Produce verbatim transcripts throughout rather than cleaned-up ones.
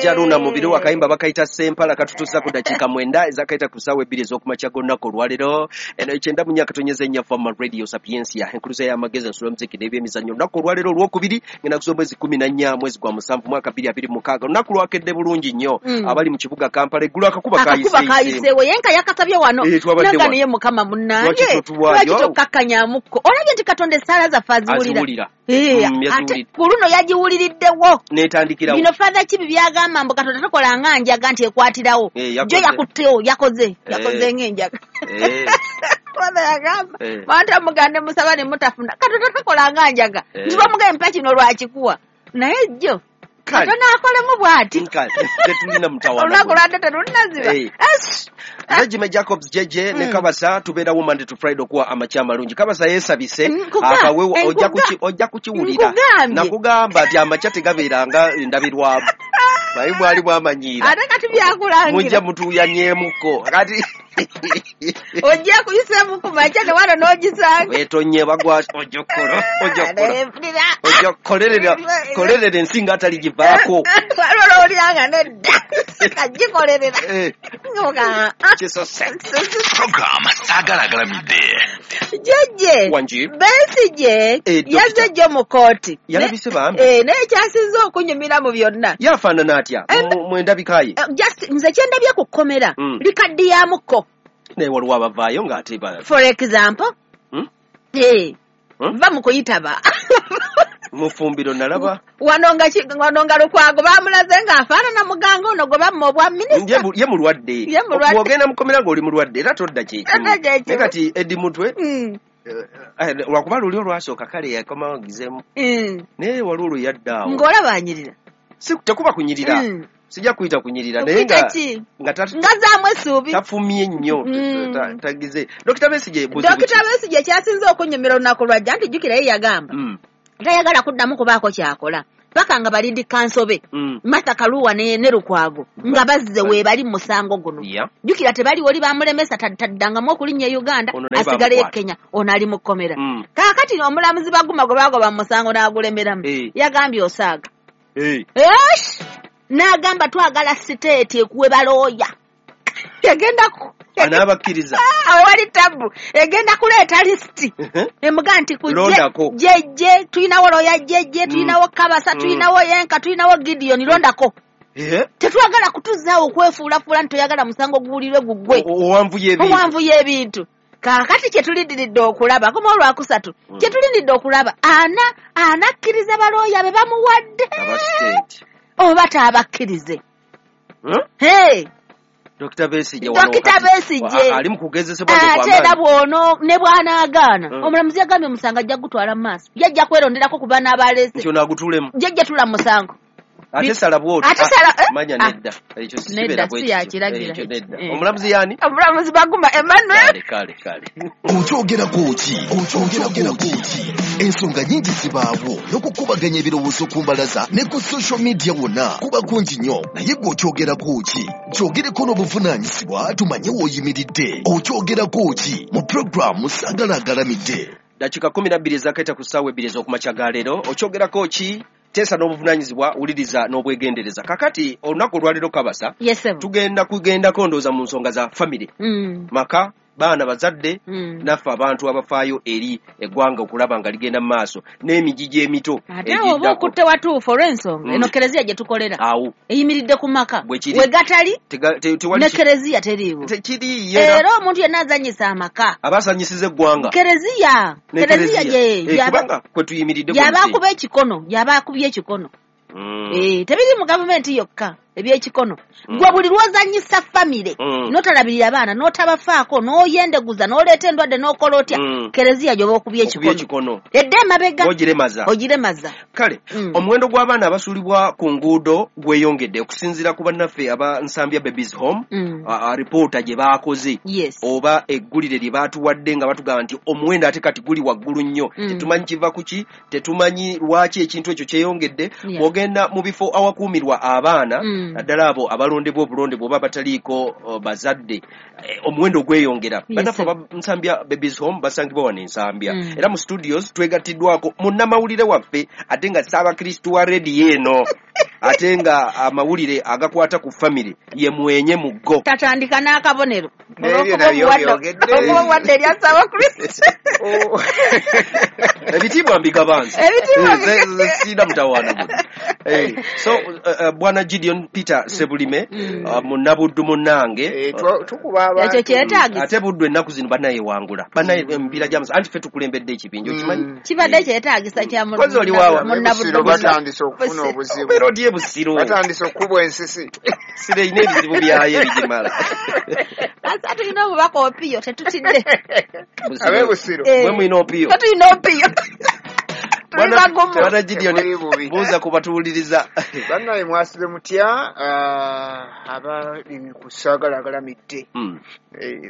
Jajja Luna Mubiru akayimba bakayita Sempala katutuusa ku dakiika mwenda ezakaita ku ssaawa ebbiri ez'okumakya g'olunaku olwaleero. Eno ekyenda mu nnya katonyeza ennya Fama Radio Sapientia, enkuluza y'amagezi, ensula, omuziki n'ebyemizannyo. Olunaku olwaleero olwokubiri ngenda kuza omwezi kumi na nnya mwezi gwa musanvu mwaka bbiri abiri mukaaga. Olunaku lwakedde bulungi nnyo. Mm. Abali mu kibuga Kampala eggulo akakuba akakuba kayiseewo. Kayiseewo yenka yakasabye wano. Eh, twabadde naga wano. Naye Mukama munnange, Lwaki totuwaayo? Lwaki tokkakkanyaamukko? Olabye nti Katonda essaala zaffe aziwulira. Aziwulira. Eh, Mm, ate yaziwulira. ku luno yagiwuliriddewo. N'etandikirawo. Bino Father Kibi byagamba mbu Katonda tokola nga njaga nti ekwatirawo. Eh, yakoze. Jo yakuttewo, yakoze yakoze Eh. ng'enjaga. Eh, Father yagamba Eh. bantu amugande musaba ne mutafuna, Katonda tokola nga njaga Eh. nti bamugaye mpa kino lwakikuwa, naye jjo Kale. Katonda akolemu bw'ati. Kale, tetulina mutawaana. Olunaku Guno. lwadde terunaziba. Eh. Ash! Regime Jacobs jeje ne Mm. Kabasa tubeerawo Monday to Friday okuwa amakya amalungi. Kabasa yeesabise Mm, nkuga- akawewo ojja nkuga- kuki- ojja kukiwulira. Nkugambye. Nakugamba nti amakya tegabeeranga ndabirwamu, naye bwali bwamanyiira. Ate kati byakulangira. Mujja mutuuyanyeemuko kati. Ojja kuyiseemu ku makya ne wano n'ogisanga. Wetonye bagwa ojja okukola ojja okukola Mpulira. ojja kukolerera kolerera ensi nga ataligivaako. Waliwo lw'owulira nga nedda kagikolerera. Eh, Nga- kisose. Program Saagala Agalamidde. Jjejje Wangi. Besigye Eh, Dokita. yazze jjo mu kooti. Yalabise bambi. Eh, naye kyasinze okunyumira mu byonna Yafaanana atya? Eh, Mu- mu endabika ye? Eh, just nze kyendabye ku kkomera Mm. likaddiyamuko. Naye waliwo abavaayo ng'ate ba- For example, Hmm? eh, Hmm? va mu kuyitaba. Mufumbiro nalaba. Wano nga ki- wano nga Lukwago bamulaze ng'afaanana muganga ono gwe bamma obwa Ye minisita. mu- ye mulwadde. Ye mulwadde. Bw'ogenda mukomera ng'oli mulwadde era todda kyekimu. Todda kyekimu. Naye kati Eddie Mutwe, Mm, eh, eh, lwakuba luli olwasooka kale yakomawo gizeemu, mm. naye waliwo lwe yadda awo. Ng'olaba anyirira. Si- tekuba kunyirira. Mm. Sijja kuyita kunyirira, naye Okuyita nga ki? nga ta- Nga zaamu essuubi. Tafumye nnyo. Mm. ta- tagize Dokita Besigye buzibu Dokita ki? Besigye kyasinze okunyumira olunaku lwajja nti jjukira ye yagamba Mm, tayagala kuddamu kubaako kyakola paka nga balindi kansobe mm. Martha Kaluwa ne, ne Lukwago nga bazze weebali mu musango guno. Yeah. Jjukira tebaliwo oli bamulemesa ta- taddangamu okulinnya e Uganda. Ono naye asigaleyo e bamukwata. Kenya, ono ali mu kkomera. Mm. Kaakati omulamuzi Baguma gwe baagoba mu musango n'agulemeramu, Eh. yagambye osaaga. Eh, Esh! N'agamba twagala siteeti ekuwe balooya egenda ku Anaabakkiriza? Ah, awo wali tabu egenda kuleeta lisiti Mhm. emuga nti ku Londako. jejje tulinawo looya jejje, Mm. tulinawo Kabasa, Mm. tulinawo Yenka, tulinawo Gideon, londako. Eh, Tetwagala kutuzaawo okwefuulafuula nti toyagala musango guwulirwe guggwe. o- owanvuya ebintu. Owanvu y'ebintu. Kaakati kyetulindiridde okulaba koma olwakusatu, Mm. kyetulindiridde okulaba ana anakkiriza balooya be bamuwadde Aba state. oba taabakkirize. Hmm? Hey, Dokita Besigye wano Dokita kati- Besigye. wa- ali mu kugezesebwa Ate era bw'ono ne bw'anaagaana, Mm. omulamuzi yagambye omusango ajja kugutwala mu maaso, yajja kweronderako ku bana abaleese. Nti ono agutuulemu. Jjajja tula mu musango. Ate sala bw'oti. Ate Ah, sala- eh? manya Ah. nedda, ekyo si Nedda, kibeera si bwe kityo. yakiragira. Ekyo nedda. Eh. Omulamuzi yaani? Omulamuzi Baguma Emmanuel. Kale kale kale. Okyogerako ki? Okyogerako ki? Ensonga nnyingi zibaawo n'okukubaganya ebirowoozo ku mbalaza ne ku social media wonna kuba kungi nnyo, naye gwe okyogerako ki? Kyogereko n'obuvunaanyizibwa tumanye w'oyimiridde. Okyogerako ki mu pulogulaamu Saagala Agalamidde. Dakiika kumi na bbiri ezakaita ku ssaawa ebbiri ez'okumakya ga leero. Okyogerako ki? Teesa n'obuvunaanyizibwa, wuliriza n'obwegendereza. Kakati olunaku olwaleero Kabasa, Yesebo. tugenda kugendako ndowooza mu nsonga za famire, Mm. maka, baana, bazadde, Mm. naffe abantu abafaayo eri eggwanga okulaba nga ligenda mu maaso n'emigigi emito Ate awo oba egiddako. okutte watuufu olw'ensonga Mm. eno kereziya gye tukolera Awo eyimiridde ku maka. Bwe kiri. We gatali Tega- te- tewali ne ki- kereziya teriiwo. tekiriiyo era Era omuntu yenna azannyisa amaka abasanyisiza eggwanga. Kereziya Ne kereziya kereziya. ye Eh, yaba- kubanga kwe tuyimiridde yaba ku nsi. akuba ekikono, yaba akubye ekikono. Mm. Eh, tebiri mu gavumenti yokka ebyekikono. Mm. Gwe buli lwozannyisa famire Mm. n'otalabirira abaana n'otabafaako n'oyendeguza n'oleeta endwadde n'okola otya, Mm. kereziya gy'oba okubye Okubye ekikono ekikono edda emabega ogiremaza. Ogiremaza. Kale, Mm. omuwendo gw'abaana abasuulibwa ku nguudo gweyongedde okusinziira ku bannaffe aba Nsambya Babies Home. Mm. a- a- ripoota gye baakoze Yes. oba eggulire lye baatuwadde nga batugamba nti omuwendo ate kati guli waggulu nnyo. Mm. Tetumanyi kiva ku ki, tetumanyi lwaki ekintu ekyo kyeyongedde. Yeah. Bw'ogenda mu bifo awakuumirwa abaana Mm. Naddala abo abalondebwa obulondebwa oba abataliiko bazadde, omuwendo ogweyongera. Bannaffe aba Nsambya Babies Home basangibwa wano e Nsambya. Era mu studios twegattiddwako munnamawulire waffe ate nga Ssaabakristu wa rediyo eno, ate nga amawulire agakwata ku famire ye mwenye mu go. Tatandika n'akabonero. Olw'okuba erya Ssaabakristu. Ebitiibwa mbigabanza. Sirina mutawaana guno. So Bwana Gideon Peter Sebulime, munnabuddu munnange. Ekyo kyetaagisa. Ate Buddu ennaku zino bannayewangula. Bannaye emipiira gy'amasa. Anti ffe tukulembedde ekibinja, okimanyi? Kibadde kyetaagisa kya munnabuddu. Batandise okufuna obuzibu. Obeera otya e Busiro? Batandise okukubwa ensisi. Siro erina ebizibu byayo ebigimala. Asa tulina obubaka opiyo, tetutidde. Ab'e Busiro. Mwe mulina opiyo. Tetulina opiyo. Bwana Gideon, buuza ku batuwuliriza. Bannaye mwasibe mutya abali ku Saagalagalamidde.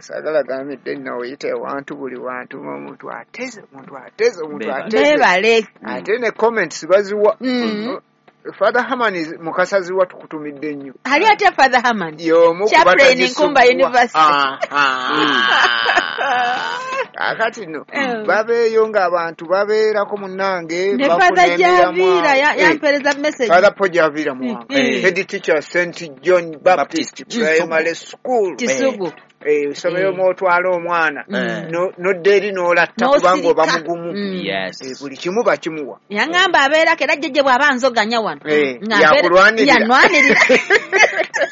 Saagalagalamidde nno oyita ewantu buli wantu omuntu ateze, omuntu ateze, omuntu ateze. Beebale. Ate ne comments baziwa. Father Herman Mukasazi tukutumidde nnyo. Ali atya Father Herman? Y'omu ku Chaplain Nkumba University. Akati nno babeeyo ng'abantu babeerako munnange. Ne Father Javiira yampeereza message. Father Paul Javiira Muwanga. Head teacher Saint John Baptist Primary School. Kisugu. Essomero mw'otwala omwana n'odda eri n'olatta kubanga oba mugumu. Buli kimu bakimuwa. Yaŋŋamba abeerako era jjajja bw'aba nzoganya wano. Yakulwanirira. Yanwanirira.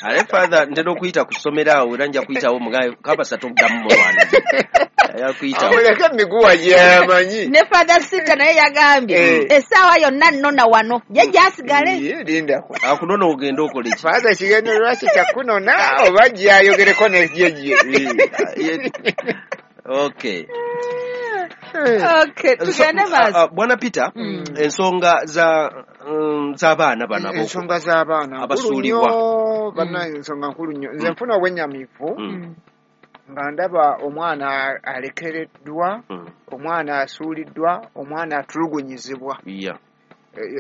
Ale Father ntera okuyita ku ssomero awo era nja kuyitawo mugabe kabasa toddamu mulwanirira. Yakuyitawo. Amuleke emiguwa gy'amanyi. Ne Father Sita naye yagambye essaawa yonna nnona wano jjajja asigale. Ye lindako. Akunona ogenda okola ki? Father kigendererwa kye kya kunona oba gy'ayogereko ne jjajja. Okay. Okay, tugende maaso. Bwana Peter, ensonga za z'abaana bano ensonga z'abaana abasuulibwa bannaye ensonga nkulu nnyo. Nze nfuna obwennyamivu nga ndaba omwana alekereddwa, omwana asuuliddwa, omwana atulugunyizibwa.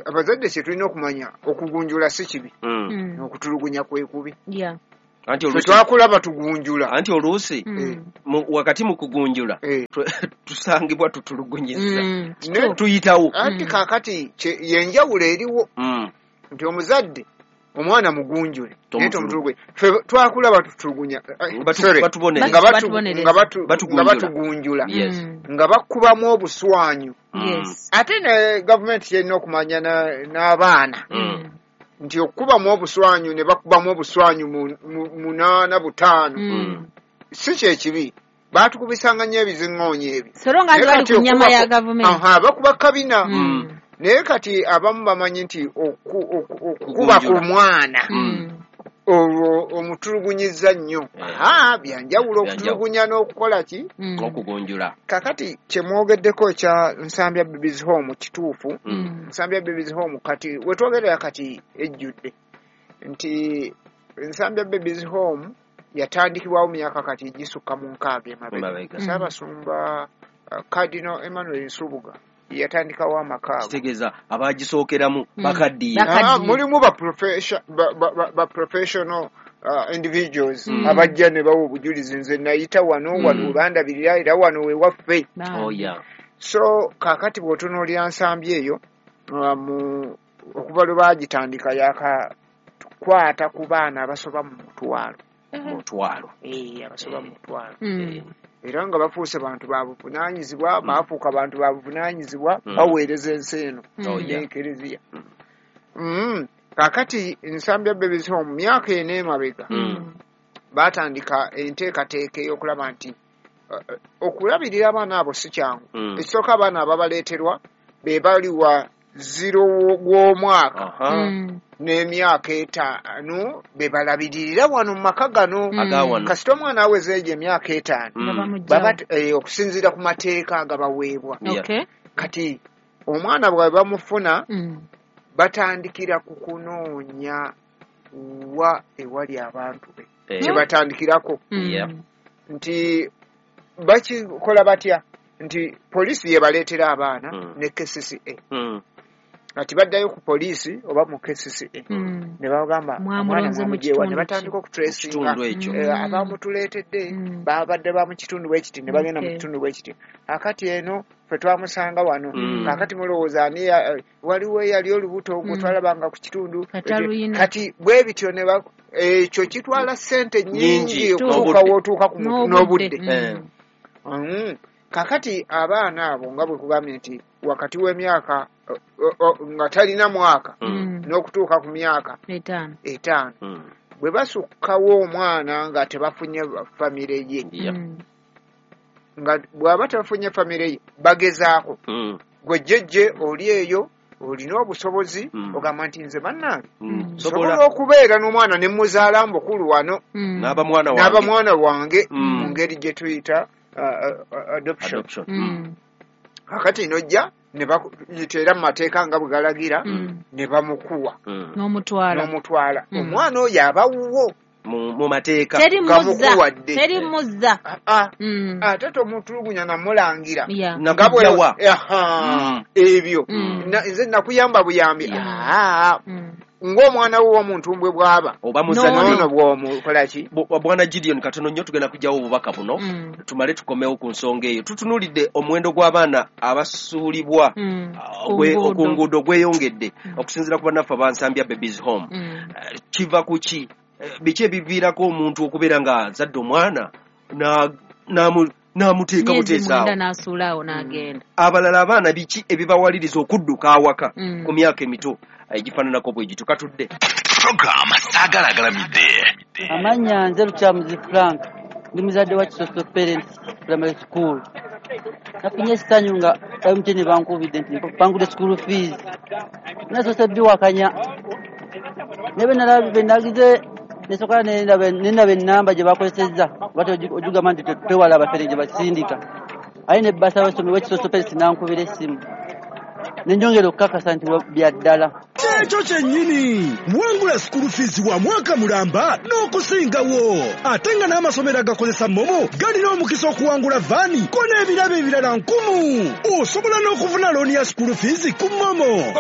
Abazadde kye tulina okumanya, okugunjula si kibi, okutulugunya kwe kubi. Anti oluusi twakula batugunjula. Anti oluusi wakati mu kugunjula tusangibwa tutulugunyiza. Tuyitawo. Anti kaakati yenjawulo eriwo nti omuzadde omwana mugunjule naye tomutulugunye. Ffe twakula batutulugunya, nga batugunjula, nga bakubamu obuswanyu. Ate ne gavumenti yerina okumanya n'abaana nti okukubamu obuswanyu ne bakubamu obuswanyu munaana butaano si kyekibi. Baatukubisanga nnyo ebiziŋŋoonyo ebyo. Bakuba kabina. Naye kati abamu bamanyi nti okukuba ku mwana olwo omutulugunyiza nnyo. Byanjawulo okutulugunya n'okukola ki? Okugunjula. Kakati kye mwogeddeko ekya Nsambya Babies Home kituufu. Nsambya Babies Home kati wetwogerera kati ejjudde nti Nsambya Babies Home yatandikibwawo myaka kati gisukka mu nkaaga emabega. Ssaabasumba Cardinal Emmanuel Nsubuga yatandikawo amaka ago. Kitegeeza abagisookeramu bakaddiye. Mulimu ba professional individuals abajja ne bawa obujulizi. Nze nayita wano wano bandabirira era wano we waffe. So kaakati bw'otunuulira Nsambya eyo okuva lwe baagitandika yakakwata ku baana abasoba mu mutwalo. Mutwalo. Abasoba mu mutwalo. Era nga bafuuse bantu ba buvunaanyizibwa, baafuuka bantu ba buvunaanyizibwa, baweereza ensi eno n'Ekereziya. Kaakati Nsambya Babies Home myaka ena emabega baatandika enteekateeka ey'okulaba nti okulabirira abaana abo si kyangu. Ekisooka abaana ababaleeterwa be baliwa ziro gw'omwaka n'emyaka etaano be balabiririra wano mu maka gano. Kasita omwana aweza egyo emyaka etaano okusinziira ku mateeka agabaweebwa. Kati omwana bwe bamufuna batandikira ku kunoonya wa ewali abantu be. Kye batandikirako nti bakikola batya nti poliisi yebaleetera abaana ne K C C A. Kati baddayo ku poliisi oba mu K C C A Mm. ne bagamba omwana Mwamulonze mu mwamuggyewa, ne kitundu batandika ki? okutracinga Kitundu ekyo. Eh, Mm. abamutuleetedde Mm. babadde ba mu kitundu bwe kiti ne bagenda mu Okay. kitundu bwe kiti, akati eno ffe twamusanga wano, Mm. kaakati mulowooza ani ya- eh, waliwo eyali olubuto gwe Mm. twalabanga ku kitundu, Kati aluyina. kati bwe bityo ne ba- ekyo kitwala ssente Nnyingi. nnyingi okutuuka N'obudde. w'otuuka ku muntu n'obudde. Eh. Mm. Kakati abaana abo nga bwe kugambye nti wakati w'emyaka o- o- nga talina mwaka Mm. n'okutuuka ku myaka etaano etaano, Mm. bwe basukkawo omwana nga tebafunye famire ye, Yeah. Mm. nga bw'aba tebafunye famire ye bagezaako, Mm. gwe jjejje oli eyo olina obusobozi, Mm. ogamba nti nze bannange Mm. nsobola Sobola okubeera n'omwana ne muzaala mbukulu wano Mm. n'aba mwana wange. n'aba mwana wange Mm. mu ngeri gye tuyita uh, uh, adoption. Adoption. Mm. Mm. Kakati nojja ne bakuyita era mu mateeka nga bwe galagira, Mm. ne bamukuwa Mm. n'omutwala n'omutwala, Mm. omwana oyo aba wuwo Mu mu mateeka. teri nga muzza mukuwadde. teri muzza Ah, ah. Mm. Ate tomutulugunya namulangira Yeah. nga bwe Nakujjawa. Aha, Mm. ebyo Mm. Na- nze nakuyamba buyambi. Yeah. Ah, Mm. ng'omwana wo w'omuntumbwe bw'aba Oba muzadde. N'ono. noono bw'omukola ki. Bu- Bwana Gideon, katono nnyo tugenda kujjawo obubaka buno, Mm. tumale tukomewo ku nsonga eyo. Tutunuulidde omuwendo gw'abaana abasuulibwa Mm. ah, Ku gwe- nguudo. ku nguudo gweyongedde, Mm. okusinziira ku bannaffe abansambya Babies Home. Mm. Eh, kiva ku ki? Eh, biki ebiviirako omuntu okubeera nga azadde omwana na- n'amu- n'amuteeka myezi buteesa mwenda awo? n'asuula awo n'agenda. Abalala abaana biki ebibawaliriza okudduka awaka Mm. ku myaka emito egifaananako bwe gityo? Katudde. Program Saagala Agalamidde. Amannya nze Lukyamuzi Frank, ndi muzadde wa Kisoso Parents Primary School. Nafunye essanyu nga M T N bankubidde nti bangudde school fees. Nasoose biwakanya. Naye bwe nalabye bwe nagize nesooka ne ndaba ne ndaba ennamba gye bakozesezza, oba ogigamba nti twewala abafere gye basindika. Aye ne bbasa w'essomero w'Ekisoso Parents n'ankubira essimu. Ne nnyongera okukakasa nti bya ddala. Kyekyo kyennyini, wangula school fees wa mwaka mulamba n'okusingawo, ate nga n'amasomero agakozesa MoMo galina omukisa okuwangula vaani ko n'ebirabo ebirala nkumu. Osobola n'okufuna looni ya school fees ku MoMo.